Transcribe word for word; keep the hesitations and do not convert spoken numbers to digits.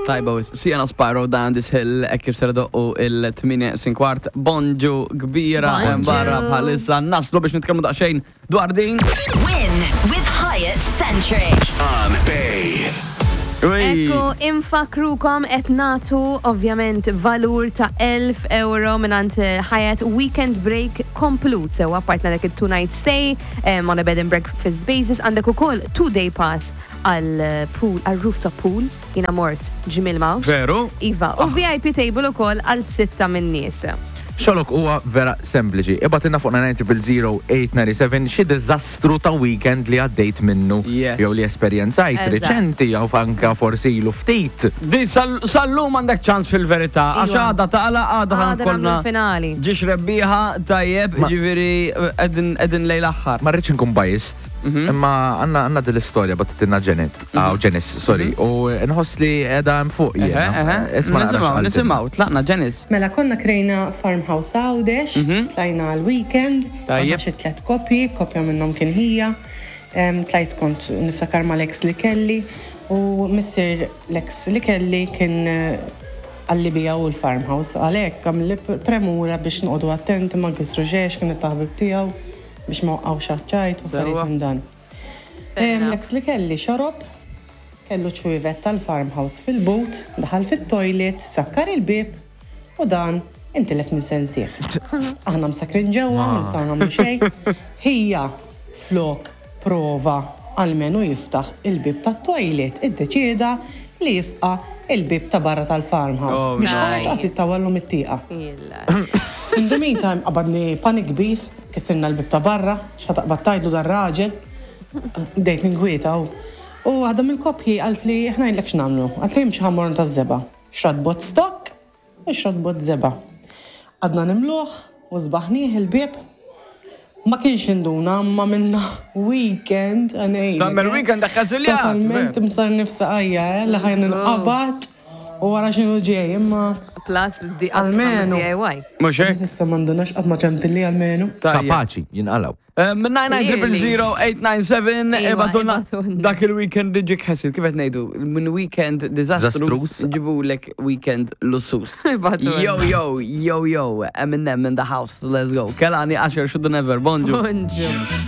Tajba wisq, Sienna Spyro Down This Hill, hekk kif ser idoqqu il-tmienja kwart. Bonġu kbira Bonġu. hemm barra bħalissa naslu biex nitkellmu daqsxejn dwar din. Win with Hyatt Centric. On Bay. Ui. Ekku, infakkrukom qed nagħtu ovvjament valur ta' elf euro mingħand Hyatt Weekend Break komplut. Sewa partna dak il-two night stay um, on a bed and breakfast basis, għandek ukoll two day pass għal eh, pool, għal rooftop pool, jiena mort ġimil mawx. Veru? Iva, u V I P table ukoll għal sitta minn nies. Xogħlok huwa vera sempliċi. Ibgħatilna fuq nine zero zero eight nine seven xi diżastru ta' weekend li għaddejt minnu Yes. jew li esperjenzajt Eżatt. riċenti jew anka forsi ilu ftit. Di sal- sal-lum għandek ċans fil-verità, għax Iva. għada taqla għada Għada nagħmlu ħankolna l-finali. ġiex rebbieħa tajjeb, Ma- ġifieri qegħdin qegħdin lejn l-aħħar. Ma rridx nkun biased, imma għandna għandna din l-istorja bagħtitilna Janet, aw Janice, sorry, u nħoss li qiegħda hemm fuq Eħe, jiena. eħe. Isma' naqra Nisimgħu, x'qaltilna. nisimgħu, tlaqna Janice. Mela konna krejna farmhouse Għawdex, tlajna għal-weekend, Tajjeb. konna xi tliet koppji, koppja minnhom kien ħija, Em, tlajt kont niftakar mal-ex li kelli u missier l-ex li kelli kien eh, għalli bija u l-farmhouse, għalhekk għamilli premura biex noqogħdu attenti ma nkissru xejn, kienet taħbib tiegħu biex ma waqgħux għaċ-ċajt u affarijiet minn dan. Em, L-ex li kelli xorob, kellu ċwievet tal-farmhouse fil-but, daħal fit-toilet, sakkar il-bib u dan intilef minn sensih. Aħna msakrin ġewwa, ma nistgħu nagħmlu xejn. Ħija flok prova almenu jiftaħ il-bib tat-toilet, iddeċieda li jifqa il-bib ta' barra tal-farmhouse. Oh, Biex nice. ħareġ qatt ittawallu mit-tieqa. Illa. In the meantime, qabadni panik kbir, kissirna l-bib ta' barra, x'ħa taqbad tgħidlu dar-raġel, bdejt ninkwieta u. U waħda mill-koppji qalt li ħa ngħidlek x'nagħmlu, qalt li jimxi ħammorn ta' żebgħa. Xtrat bott stock u xtrat bott żebgħa. Għadna nimluħ u żbaħnieh il-bib. Ma kienx induna, ma minna weekend għanej. Tagħmel weekend akkażiljat, Totalment veru. msar nifsa għajja, eh, li ħajn nqabad u wara xinu ġej, imma Plus, di Almenu. D I Y. Mhux hekk? Issa m'għandunax qatt ma ċempilli almenu. Tajjeb. Kapaċi, jinqalaw. Eh, Minn nine nine zero zero eight nine seven Iva, ibgħatulna ibgħatulna. dak il-weekend li ġik ħasil, kif qed ngħidu, minn weekend disastrous Disastrous. ġibulek weekend lussus. Ibgħatulna. Yo, yo, yo, yo, Eminem in the house, let's go. Kehlani, Usher, Shoulda Never, bonġu. Bonġu.